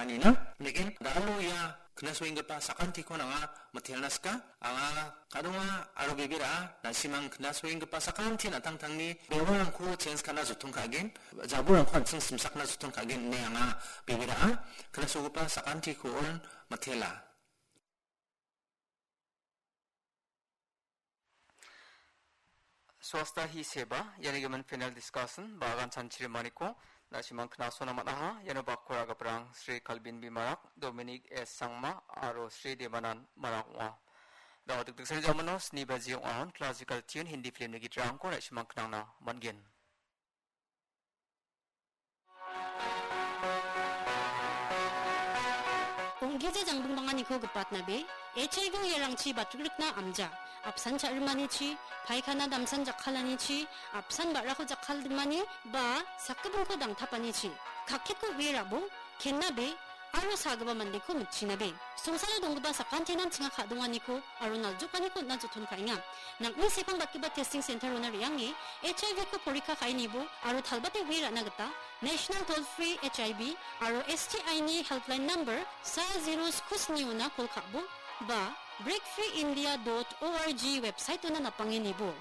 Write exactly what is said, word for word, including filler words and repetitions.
nina. Neken, da·alo ia knasoenggipa sakantikon anga mitelna sika. Anga kadonga aro bebera, na·simang knasoenggipa sakantin an·tangtangni bewarangko chens ka·na joton ka·gen, jaburangko an·ching simsakna joton ka·gen ine anga bebera, knasogipa sakantikon mitela. Swastha Hi Seva, iani gimin panel discussion, bagan chanchirimaniko, na·simang knasona man·aha, iano bakora gaprang, Sri Kalbin B Marak, Dominic S Sangma, aro Sri Devanan Marak ong·a. Dao dikdiksani jamano, sni baji ong·ahon, classical tune, Hindi film-ni gitrangko, na·simang knangna man·gen. Ong·gija jangbingbanganiko gipatnabe, H I V uiarangchi batrikna amja, apsan cha·rimanichi, paikana damsan jakkalanichi, apsan ba·rako jakkaldimani, ba sakgipinko dangtapanichi, kakketko uie rabo, kennabe, aro sagipa mandeko mitchinabe. Songsalo donggipa sakantinan chinga ka·donganiko aro naljokaniko on·na joton ka·enga. Nang·ni sepangbatigipa testing center-ona re·ange H I V-ko porikka ka·enibo aro talbate uie ra·na gita National Toll Free H I V aro S T I-ni helpline number sa zero sku sni-ona kol ka·bo ba break free india dot org website-ona napangenibo.